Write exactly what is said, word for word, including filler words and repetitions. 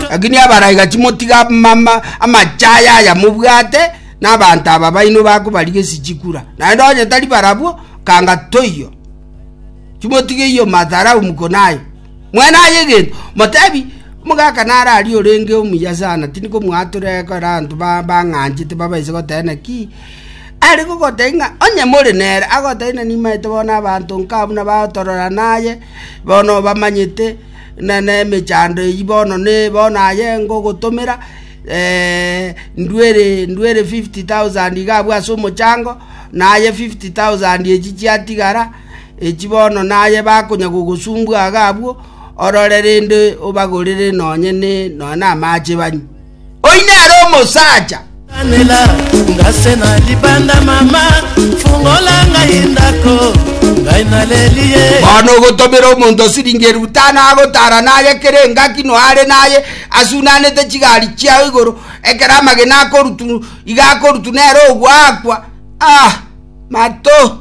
Lakini abaraiga chimotiga mama amachaya aya mobwate na abanto aba baino bakobarigesi chikura. Naende onye tari barabwo kanga toiyo. Chimotige iyo madharau mko nayo. Mwene aye egento motebi omogaka naro aria orenge omuya sana tindi komwatora ekero abanto ba- bang'anchete babaise goteba naki are gogotebia ng'a onye more nere agotebia ng'a nimaete bono abanto nka buna bagotorora naye bono bamanyete na na emechando eywo bono ne bono aye ngogotomera ndwere ndwere fifty thousand iga abwo ase omochango naye fifty thousand echi chiatigara echi bono naye bakonya gogosumbua iga abwo orore rende obagorere nonye ne nonye na amache banywe. Oyio nere omosacha. Nela ngase na libanda mama fungola ngai ndako ngai naleli ye Bono ogotomera omonto siringi elfu tano agotara naye kere engaki noare naye asunanete chigari chiao igoro ekero amagena akorutu iga akorutu nere ogoakwa ah mato.